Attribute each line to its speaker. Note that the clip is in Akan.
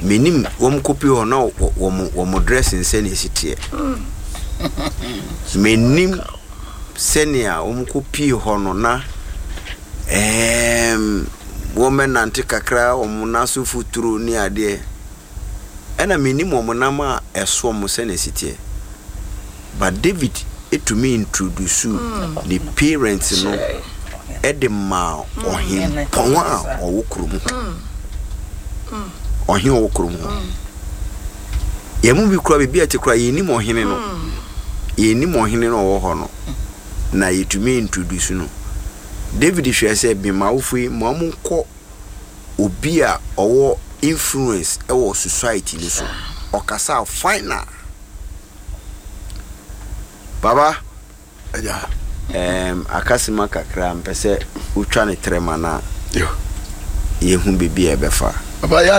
Speaker 1: Menim wɔn kɔpie hɔ na wɔn dressing sɛnea ɛsi teɛ. Menim sɛnea wɔn kɔpie hɔ no na ɛɛm wɔbɛnante kakra wɔn nan so futuro ne adeɛ. Ɛna mennim wɔn nam a ɛso wɔn sɛnea ɛsi teɛ. But David tumi introduce ne parents no de maa ɔhempɔn a ɔwɔ kurom hɔ. Ɔhene a ɔwɔ kurom hɔ. Yɛn mu bi koraa baabi a ɛte koraa yɛnnim ɔhene no. Yɛnnim ɔhene no a ɔwɔ hɔ no. Na yɛtumi introduce no. David hwɛɛ sɛ mema awofo yi ma wɔnkɔ obi a ɔwɔ influence wɔ society no so. Ɔkasa final. Baba,
Speaker 2: Agya.
Speaker 1: Akasima kakra mpɛ sɛ wotwa ne trɛma no a yɛhu baabi a ɛbɛfa.
Speaker 2: Papa, yɛ